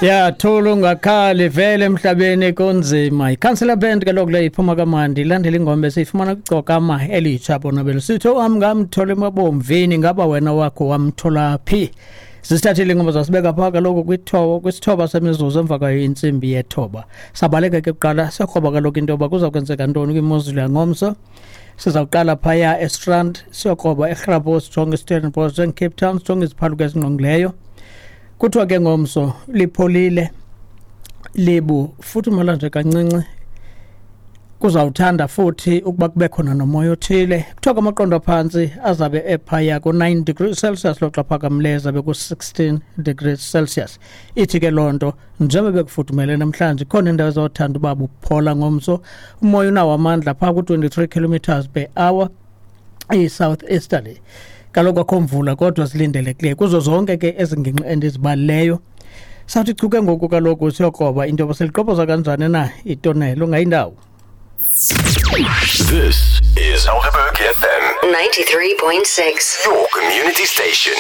Ya thula ungakhali vele emhlabeni kunzima. Ikhansela band kaloku le iphuma kamandi ilandela ingoma esiyifumana kwigcokama elitsha bona belusitho wam ngamthola emabomvini ngaba wena wakho wamthola phi. Sisithathile ingoma zasibeka phaa kaloku kwithoba kwisithoba semizuzu emva kwayo intsimbi yethoba. Sabaleka ke kuqala sakroba kaloku into yoba kuza kwenzeka ntoni kwimozulu yangomso. Sizawuqala phaya eStrand siyokroba eGrabos sijonge iStellenbosch sijonge Cape Town sijonge iziphaluka ezingqongileyo. Kuthiwa ke ngomso lipholile libu futhi umala nje kancinci kuzawuthanda futhi ukuba kube khona nomoya othile. Kuthiwa kwamaqondo aphantsi azabe ephaya ku-9 degrees Celsius loxa phakamileyo azabe ku-16 degrees Celsius. Ithi ke loo nto njengoba bekufudumele namhlanje khona indawo ezawuthanda uba buphola ngomso. Umoya unawo amandla phaa ku-23 kilometers per hour i-south easterly. Kaloku akho mvula kodwa zilindelekileyo kuzo zonke ke ezi ngingqi endizibalileyo. Sawuthi chu ke ngoku kaloku siyokroba into yoba seliqoboza kanjani na itonelo ungayindawo. This is Helderberg FM 93.6. your community station.